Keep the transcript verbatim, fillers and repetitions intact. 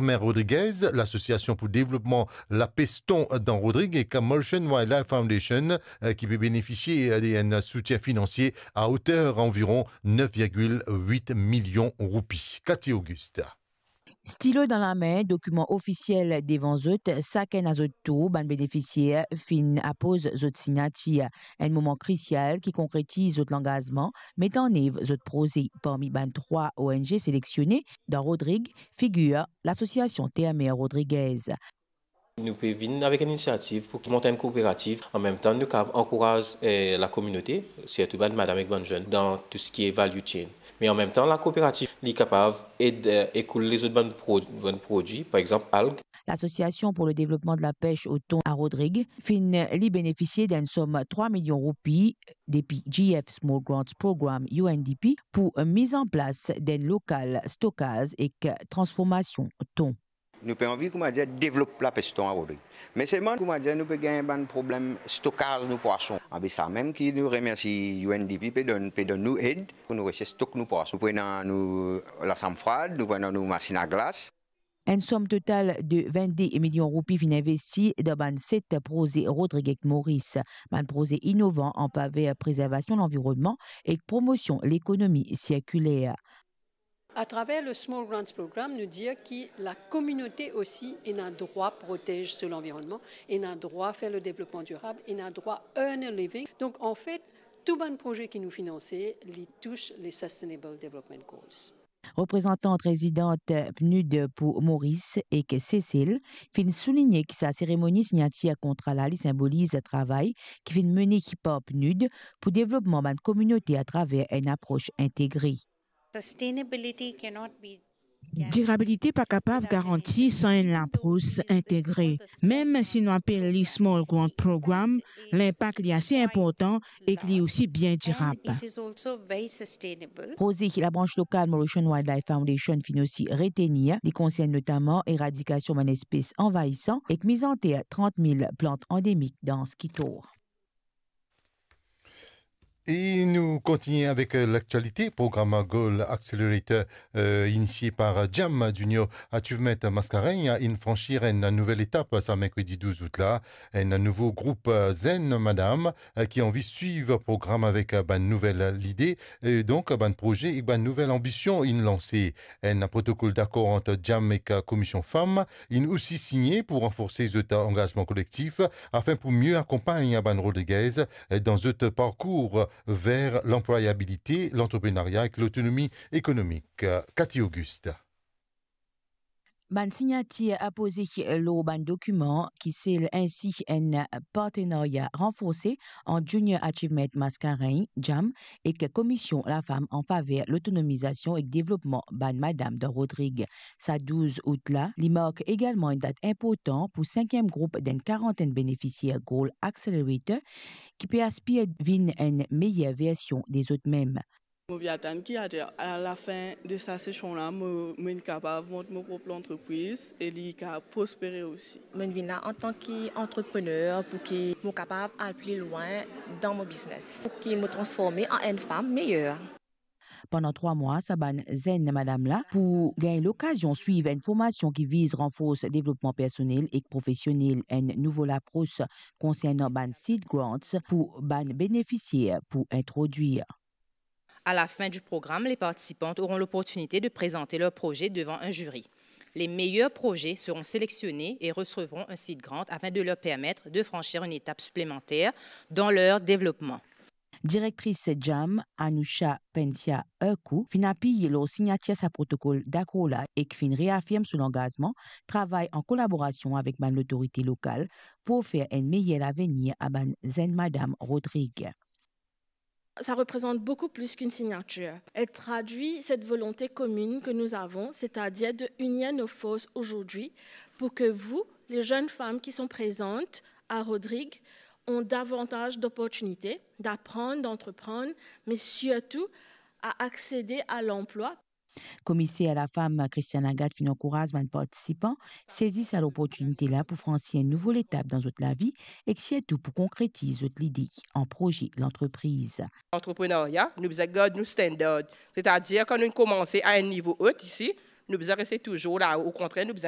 Mer Rodriguez, Lasosiasion pou Devlopman Lapes Ton dan Rodrig ek Mauritian Wildlife Foundation, eh, ki pe benefisie, eh, de enn soutien finansie a oter anviron nef virgil wit milion roupi. Cathy Auguste. Stilo dan lame, dokiman ofisiel devan zot, sakenn a zot tour, bann benefisier finn apoz zot signatir. Enn moman krisial ki konkretiz zot langazman met an nev zot proze. Parmi bann trwa O N G seleksioné dan Rodrig, figir Lasosiasion Terre Mer Rodriguez. Nou pe vinn avek enn inisiativ pou mont enn kooperativ. An mem tan, nou kav ankouraz, eh, lakominote, sirtou bann madam ek bann zenn, dan tou seki value chain. Me an mem tan, lakooperativ, li kapav ed, eh, ekoul lezot bann pro-, bann prodwi, par exanp, alg. Lasosiasion pou le devlopman de la pes o ton a Rodrig finn li benefisie d'enn som trwa milion roupi depi G F Small Grants Program, U N D P, pou miz an plas d'enn lokal stokaz ek transformasion ton. Nou pe anvi, kouma dir, devlop lapes ton a Rodrig. Me selman, kouma dir, nou pe gagn bann problem stokaz nou pwason. Abe sa mem ki nou remersi U N D P pe donn, pe donn nou ed pou nou resi stok nou pwason. Nou pou ena nou lasam frad, nou pou ena nou masinn a glas. Enn som total de vennde milion roupi finn investi dan bann set proze Rodrig ek Moris, bann proze inovan an faver prezervasion lanvironnman ek promosion lekonomi sirkiler. Atraver le Small Grants Program, nou dir ki lakominote osi ena drwa protez so lanvironnman, ena drwa fer le devlopman dirab, ena drwa earn a living. Donk, anfet, tou bann proze ki nou finanse, li tous le Sustainable Development Goals. Reprezantant rezidan PNUD pou Moris ek Sesel finn souligne ki sa seremoni signatir kontra la, li sinboliz travay ki finn mene par PNUD pou devlopman bann kominote atraver enn apros integre. Sustainability cannot be Dirabilite pa kapav garanti san enn lapros integre. Mem si nou apel li Small Grant Program, linpak li ase inportan ek li osi bien dirab. And it is also very sustainable. Proze ki labrans lokal Mauritian Wildlife Foundation finn osi retenir, li konsern notaman eradikasion bann espes anvayisan ek miz anter trant mil plant andemik dan Ski Tor. E nou kontigne avek, eh, laktialite. Program Goal Accelerator, eh, inisie par, eh, JAM, Junior Achievement Mascarenhas, inn fransir enn nouvel etap sa merkredi douz out la. Enn nouvo group, eh, zenn madam, eh, ki anvi swiv program avek, eh, bann nouvel lide. E donk, bann proze ek bann nouvel anbision inn lanse. Enn protokol dakor ant JAM ek Komisyon Fam inn osi signe pou ranforse zot angazman kolektif, afin pou mie akonpagn bann Rodriguez dan zot parkour ver lanplwayabilite, lantreprenaria ek lotonomi ekonomik. Cathy Auguste. Bann signatir apoze lor bann dokiman ki sel ensi enn partenaria ranforse ant Junior Achievement Mascarenhas, JAM, ek Komisyon Lafam an faver lotonomizasion ek devlopman bann madam dan Rodrig. Sa douz out la, li mark egalman enn dat inportan pou sinkiem group d'enn karantenn benefisier Goal Accelerator ki pe aspir vinn enn meyer version de zot mem. Mo pe atann ki a, a lafin de sa sesion la, mo, mo inn kapav mont mo prop lantrepriz e li kapav prospere osi. Mo inn vinn la antan ki antreprener pou ki mo kapav al pli lwin dan mo biznes, pou ki mo transforme an enn fam meyer. Pandan trwa mwa, sa bann zenn madam la pou gagn lokazion swiv enn formasion ki viz ranfors devlopman personel ek profesionel, enn nouvo lapros konsernan bann seed grants pou bann benefisier pou introdwir. À la fin du programme, les participantes auront l'opportunité de présenter leur projet devant un jury. Les meilleurs projets seront sélectionnés et recevront un seed grant afin de leur permettre de franchir une étape supplémentaire dans leur développement. Direktris JAM, Anusha Pensia Urku, finn apiy lor signatir sa protokol dakor la ek finn reafirm so langazman travay an kolaborasion avek bann lotorite lokal pou ofer enn meyer lavenir a bann zenn madam Rodrig. Ça représente beaucoup plus qu'une signature. Elle traduit cette volonté commune que nous avons, c'est-à-dire de unir nos forces aujourd'hui pour que vous, les jeunes femmes qui sont présentes à Rodrig, ont davantage d'opportunités d'apprendre, d'entreprendre, mais surtout à accéder à l'emploi. Komiser Lafam Christiane Agathe finn ankouraz bann partisipan sezi sa loportinite la pou fransi enn nouvo letap dan zot lavi ek sirtou pou konkretiz zot lide an proze lantrepriz. Antreprenaria, nou bizin gard nou standard. Setadir, kan nou koumanse a enn nivo ot isi, nou bizin reste touzour lao. Okontrer, nou bizin